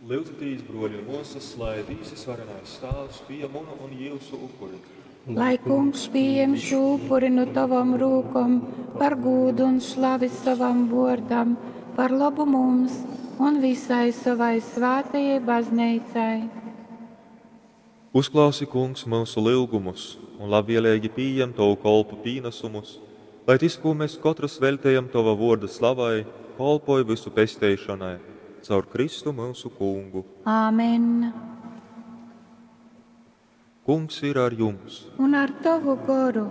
Lyudzitīs, bruoļi un muosys, lai Dīvs Varenais Tāvs pījem munu un jiusu upuri. Lai Kungs pījem šū upuri nu tovom rūkom par gūdu un slavi sovam vuordam, par lobu mums un visai sovai svātajai Bazneicai. Uzklausi, Kungs, myusu lyugumus un labvieleigi pījem tovu kolpu pīnasumus, lai tys, kū mes kotrys veļtejam tova vuorda slavai, kolpoj vysu pesteišonai, caur Kristu myusu Kungu. Āmen. Kungs ir ar jums! Un ar tovu goru.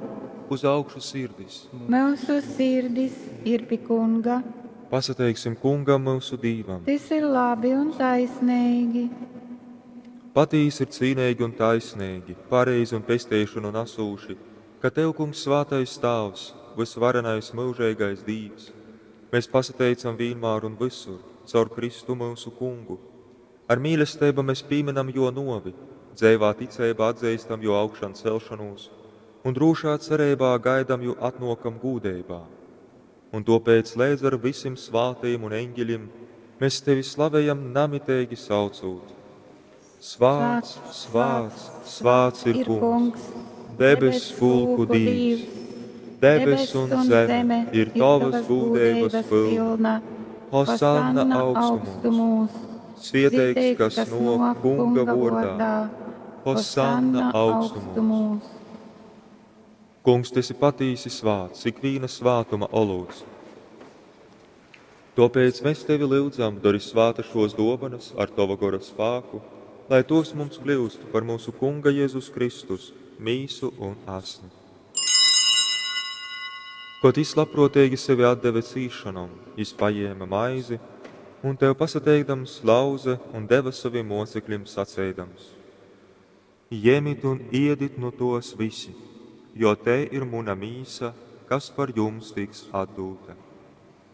Uz augšu sirdis! Myusu sirdis ir pi Kunga. Pasateiksim Kungam, myusu Dīvam! Tys ir labi un taisneigi. Patīsi ir cīneigi un taisneigi, pareizi un pesteišonu nasūši, ka tev, Kungs, svātais Tāvs, vysvarenais myužeigais Dīvs, mēs pasateicam vīnmār un vysur, caur Kristu myusu Kungu. Ar mīlesteibu mes pīmynam jō nōvi, dzeivā ticeibā atzeistam jō augšancelšonūs un drūšā cereibā gaidam jō atnōkam gūdeibā. Un tōpēc leidz ar vysim svātajim un eņgeļim mes tevi slavejam namiteigi saucūt, Svāts, svāts, svāts ir Kungs, debess pulku Dīvs. Debess un zeme ir tovas gūdeibas pylna. Hosanna augstumūs! Svieteigs, kas nōk Kunga vōrdā. Hosanna augstumūs! Kungs, tu esi patīsi svāts, ikvīna svātuma olūts. Tōpēc mēs tevi lyudzam, dori svātas šos dōvanas ar tova gora spāku, lai tos mums kļūst par mūsu Kunga Jēzus Kristus mīsu un asni. Kod jis labprōteigi sevi atdeve cīsšonom, jis pajēme maizi un tev pasateikdams lauze un deva sovim mōcekļim saceidams: Jemit un iedit nu tōs visi, jo tei ir muna mīsa, kas par jums tiks atdūta.